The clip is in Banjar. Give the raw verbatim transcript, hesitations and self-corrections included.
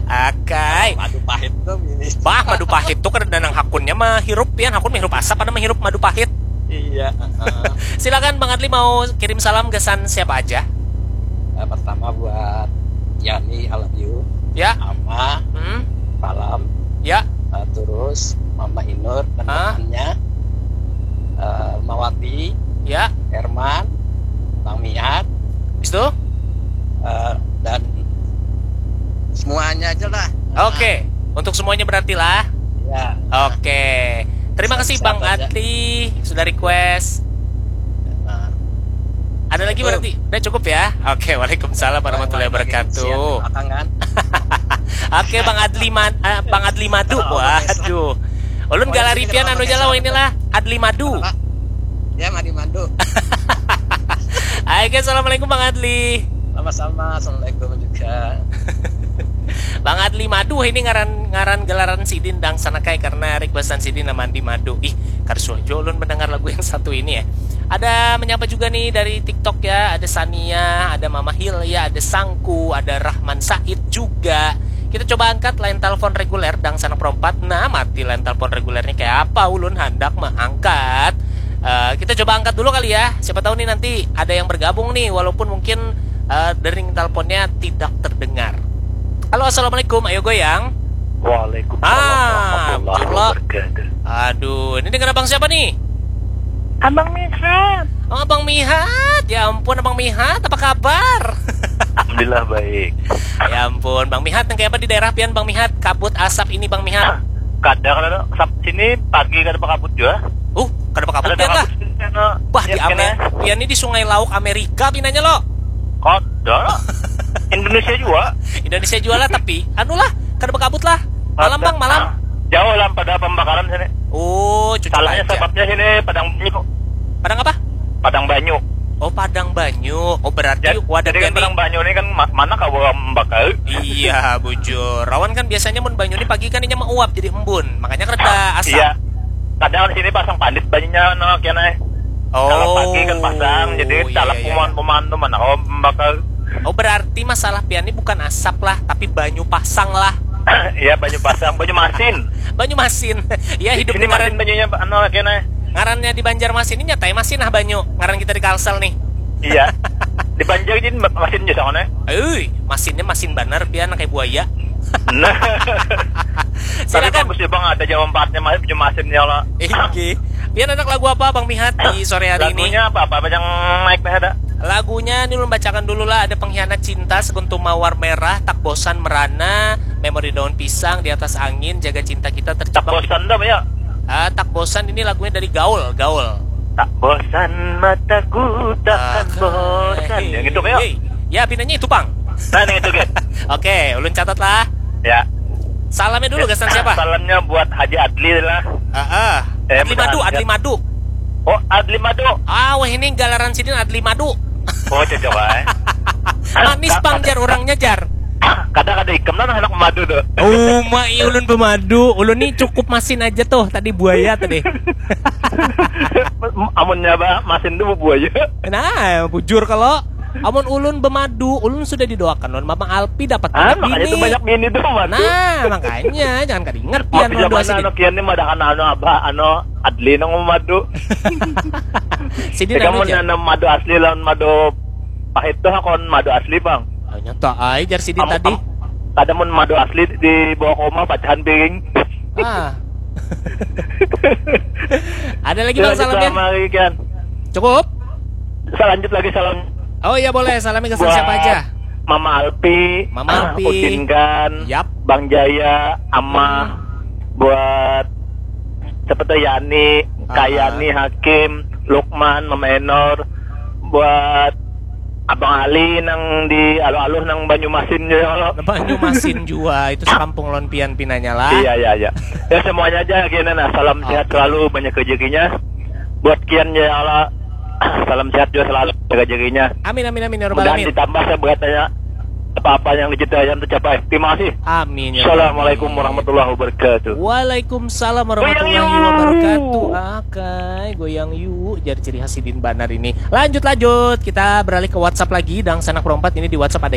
Akai. Madu pahit tuh ini. Bah, madu pahit tuh kada nang hakunnya mah hirup pian, hakun mah hirup asap ada mah hirup madu pahit. Iya. Silakan Bang Adli mau kirim salam gasan siapa aja? Uh, pertama buat Yani, I love you. Ya. Ama, hmm? Palam. Ya. Uh, terus Mama Inur dan ah? Temannya. Uh, Mawati. Ya. Herman, Bang Miat. Habis itu? Uh, dan semuanya aja lah. Oke, untuk semuanya berarti lah. Ya. Oke. Terima kasih Bang Adli sudah request. Nah. Ada lagi berarti? Udah cukup ya? Oke, waalaikumsalam warahmatullahi wabarakatuh. Oke, Bang Adli Man, uh, Bang Adli Madu. Waduh. Ulun galari pian anu aja lah inilah Adli Madu. Ya, Madi Madu. Oke, assalamualaikum Bang Adli. Sama-sama, assalamualaikum juga. Bang Adli Madu ini ngaran ngaran gelaran sidin dang sana kai karena requestan sidin nama Andi Madu. Ih, karsuah jua ulun mendengar lagu yang satu ini ya. Ada menyapa juga nih dari TikTok ya, ada Sania, ada Mama Hilya, ada Sangku, ada Rahman Said juga. Kita coba angkat line telepon reguler dang sana perompat. Nah, mati line telepon regulernya kayak apa? Ulun hendak mengangkat. Uh, kita coba angkat dulu kali ya. Siapa tahu nih nanti ada yang bergabung nih, walaupun mungkin uh, dering teleponnya tidak terdengar. Halo, assalamualaikum. Ayo goyang. Waalaikumsalam ah, warahmatullahi wabarakatuh. Aduh, ini dengan abang siapa nih? Abang Mihat. Oh, Abang Mihat. Ya ampun, Abang Mihat, apa kabar? Alhamdulillah baik. Ya ampun, Bang Mihat, yang kayak apa di daerah pian, Bang Mihat? Kabut asap ini, Bang Mihat. Kadang ada sini pagi kada berkabut juga. Uh, kada berkabut pian lah. Bah, di Amer, pian ini di Sungai Lauk Amerika pinanya lo. Kada. Indonesia juga. Indonesia juga lah, tapi anu lah, kada berkabut lah. Malam, Bang, malam. Jauh lah pada pembakaran sini. Oh, cucuk. Salahnya aja. Sebabnya sini Padang Banyu. Padang apa? Padang Banyu. Oh, Padang Banyu. Oh, berarti wadah jadi kan Padang Banyu ini kan mana kawa membakar? Iya, bujur. Rawan kan biasanya mun banyu ini pagi kan inya mauap jadi embun, makanya kereda asap. Iya. Kadang di sini pasang pandit banyunya no kena. Oh, kalau pagi kan pasang, jadi iya, talap iya, peman-peman tuh mana kawa membakar. Oh, berarti masalah pian ini bukan asap lah, tapi banyu pasang lah. Iya, banyu pasang, banyu masin. Banyu masin. Iya, hidup ini masin banyunya anu kena. Ngarannya di Banjarmasin ini nyatai masin ah banyu. Ngaran kita di Kalsel nih. Iya. Di Banjar ini masin juga soalnya. Ui, masinnya masin banar pian kayak buaya. Nah. Silakan. Tapi bagus ya Bang, ada jawabannya masih punya masinnya lah. Iki. Pian anak lagu apa Bang Mihat di sore hari ini? Lagunya apa? Apa yang naik nih ada? Lagunya ini ulun bacakan dulu lah. Ada Pengkhianat Cinta, Sekuntum Mawar Merah, Tak Bosan Merana, Memori Daun Pisang, Di Atas Angin, Jaga Cinta Kita Terjebak. Tak bosan dah ya. Ah, Tak Bosan ini lagunya dari Gaul, Gaul. Tak bosan mataku takkan bosan. Ya gitu ya. Ya pinanya itu pang. Nah, yang itu kan. Oke, ulun catat lah. Ya. Salamnya dulu gasan siapa? Salamnya buat Haji Adli lah. Heeh. Eh, Adli Madu, Adli Madu. Oh, Adli Madu. Ah, wah ini galaran sidin Adli Madu. Oh, cocok eh. Manis pang jar orangnya jar. Kada kada ikam lah anak madu tuh. Oh, ma iya ulun pemadu. Ulun nih cukup masin aja tuh tadi buaya tadi. Amunnya bah masin tuh buaya. Nah, bujur kalau amun ulun bemadu, ulun sudah didoakan lawan Mama Alpi dapat ah, banyak makanya bini. Itu banyak bini tuh madu. Nah, makanya jangan kada ingat pian lawan doa sini. Anak kian nih madakan anu abah anu Adli nang madu. Sini kamu nanam madu asli lawan madu pahit tuh kon madu asli bang. Oh, nyata ai jar sidin tadi. Kada mun madu asli di bawah koma pacahan piring. Ah. Ada lagi bang salamnya? Cukup? Selanjut lagi salam. Oh iya boleh, salamnya ke siapa aja? Mama Alpi, Mama Alpi, Udin Gan, yap. Bang Jaya, Ama, hmm. Buat siapa tuh Yani, ah. Kayani, Hakim, Lukman, Mama Enor, buat Abang Ali nang di aluh-aluh nang Banyumasin juga kalau. Banyumasin juga itu sekampung lawan pian pinanya lah. Iya iya iya. Ya semuanya aja gini nah salam oh. Sehat selalu banyak rezekinya. Buat kian ya Allah salam sehat juga selalu banyak rezekinya. Amin amin amin ya rabbal alamin. Ditambah seberatnya apa-apa yang dicintai yang tercapai. Terima kasih. Amin. Ya Assalamualaikum warahmatullahi wabarakatuh. Waalaikumsalam warahmatullahi wabarakatuh. Akai goyang yuk jadi ciri khas sidin banar ini. Lanjut lanjut kita beralih ke WhatsApp lagi dang sanak perompat ini di WhatsApp ada